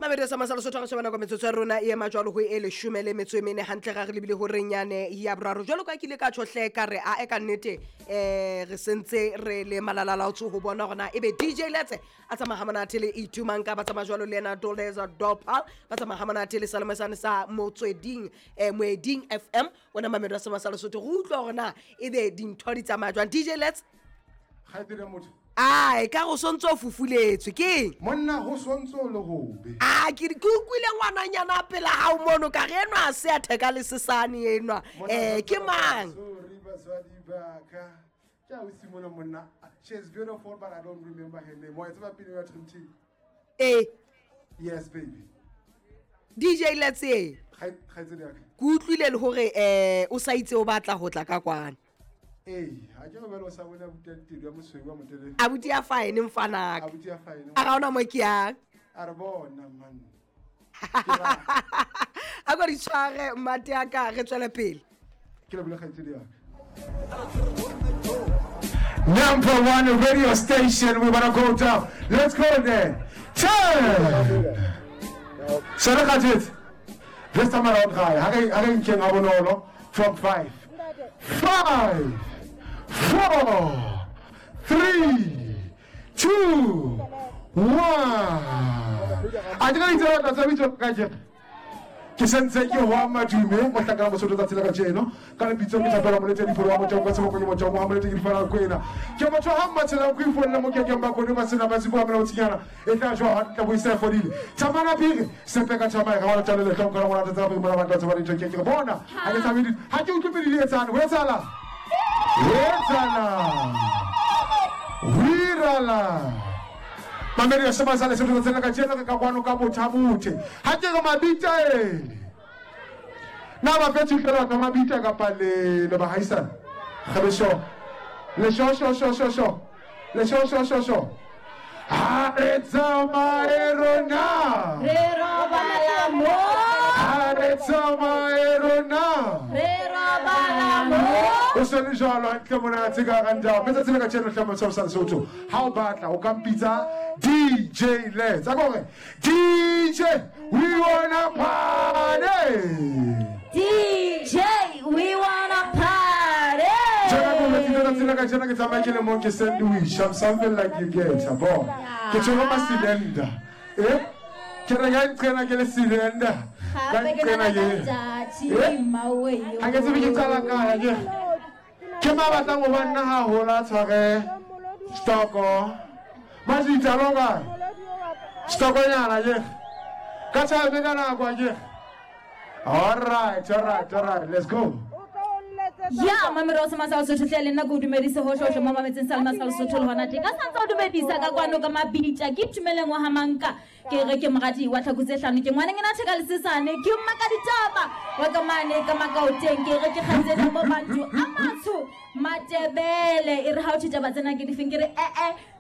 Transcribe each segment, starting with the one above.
Mamedi sa masala sotho re shebana kwa metsotso ya rona e ema jwalo ho e leshome le metso e mene hantle ga re lebile ho renyane ya boraro. Jwalo ka ke ile ka tjhohle ka re a e ka nnete re sentse re le malalalaotso ho bona gona ebe DJ Letse a tsamaya monate le Itumang ka ba tsamaya jwalo le yena Doleza Dopal ba tsamaya monate le Salomesane sa Motsweding Moeding FM wena Mamedi sa masala sotho go utlwa gore na ebe dintho di tsamaya jwang. DJ Letse Kgaitsedi ya motho. Ai, ka go sontse o fufuletswe ke eng? Monna go sontse o le gobe. A ke ke utlwile ngwananyana pela hao mono ka re enwa a se a theka le sesane enwa. Ke mang? Sorry baswadi ba ka. Ke a o simona monna. She is beautiful but I don't remember her name. Wa e tseba pina ya Dream Team? Eh. Yes baby. DJ Letse. Kgaitsedi ya ka. Ke utlwile le hore o sa itse o batla ho tla ka kwana. Ee, ha ke re o sa bone abuti ya tedu ya mosweu wa motelele. Abuti ya fine mfanaka. Abuti ya fine. A ga ona mo ke yang. A re bona man. A go di tshware mmate ya ka re tswele pele. Ke le bole kgaitsedi ya ka. Number one radio station, we wanna go down. Let's go there. 10. Sere kgatsetse. This time around gae, ha re nkeng ha bonolo from 5. 5, 4, 3, 2, 1. A ke itse batla tsa bitso ka je. Ke sentse ke wa madume mo tlakana mosotho tsatsi la kajeno ka lebitso ke thapela molete diforo wa motho ka seboko ke motho wa molete ke difara kwena ke motho ha mmatshela go ifolla mo kekeng ba kone ba sena ba sibo mena botsinyana e tla jwa ha tla boisa fodile tsamana piri sepe ka tsamaya ga wa tla le tlong ka ngwana tsa ba mona ba tla ba dintho ke ke bona ha ke tsabe ha ke utlwe pele di etsana ho etsala etsala wirala Mamedi ya sema sale setho tsena ka tjena ka kwano ka bothabothe ha ke re mabita e na ba fetše fela ka mabita kapa le le bahaisana kgabesho le sho sho sho sho sho le sho sho sho sho ha re tsamaye rona re robala mo ha re tsamaye rona re robala mo o se le jwalo hantle monate ka ranta mme tsatsi le ka tjena hlama sa Lesotho ha o batla o ka mpitsa DJ Let's a gore DJ we wanna party DJ we wanna party Jana ko le tsela tsela ka tjena ke tsamaya ke le mo ke sandwich I'm something like you get bo ke tshwere ma cylinder ke re ka nqena ke le cylinder ka nqena ke ha ke tsebe ke qala kae ke ke ma batlang ho ba nna haholo a tshware stoko majitsa longa stokonyana ke ka tshwabe ka nako ke all right all right all right let's go. Ya mamero sa masala Sotho tle le nna ke o dumedise ho hlohlo mo mametseng sa masala Sotho le hona teng ka santse o dumedisa ka kwano ka mabitja ke tumeleng wa hamanka ke re ke moradi wa tlhaku tse hlano ke ngwana ngena theka lesesane ke mmaka ditaba wa ka mane ka makaoteng ke re ke kgaitsedi mo bantu a matsho Matebele e re ha o taba tsena ke difeng ke re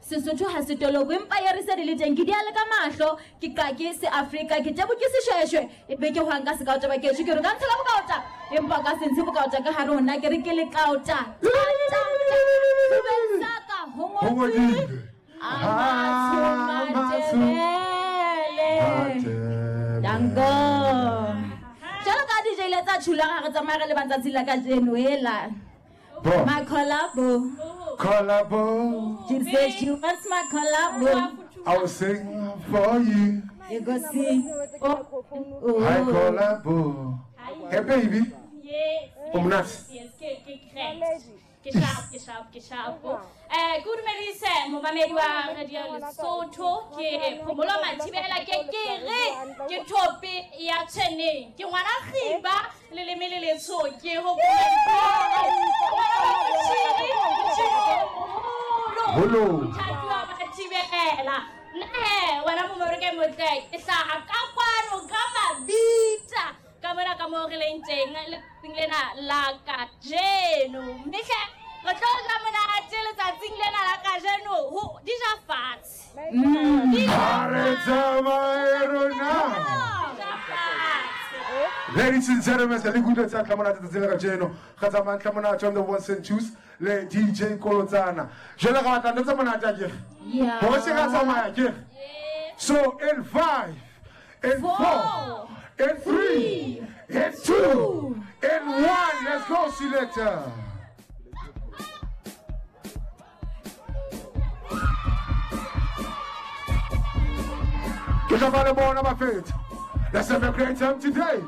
Sesotho ha se toloko empa ya re se di le teng ke di ale ka mahlo ke ka ke se Afrika ke tebo ke seshweshwe e be ke hwang ka se kaota ba ke ke re ka ntsha ka bokaota empa ka se ntshe bokaota ka hare hona ke re ke le kaota saka ho ngotswe Matebele dango jalo ka DJ le tsa tshula ga re tsamaya re le bantsatsi la kajeno ela. My collabo. Collabo. She said she wants my collabo. I will sing for you. You go sing. Oh, oh. Hi collabo. Hey baby. Yes. Umnat. Yes, ke ke sharp ke sharp ke sharp. Good dumedise momamedi wa Radio Lesotho ke Phomolo Mathibela ke ke re ke thope ya tshweneng ke ngwana khiba le leme le letsho ke ho Holo thatuwa Mathibela nne wena momamedi ke motle ke hlaha ka kwano ka mabitsa ka mona ka mo re leng teng letsatsing lena la kajeno mme hle re tlo ja monate letsatsing lena la kajeno ho di ja fatshe ha re tsamaye rona. Ladies and gentlemen, le kutlwe tsa tlamonate tsatsi la kajeno ga tsamayang tlamonate on the ones and twos le DJ Kolotsana jwale ga batla ntse monate a kere Yeah. Ho se ka tsamaya kere So in 5 In 4, in 3, in 2, in 1. Let's go, selector. Ke tla ba le bona bafethu. Let's have a great time today.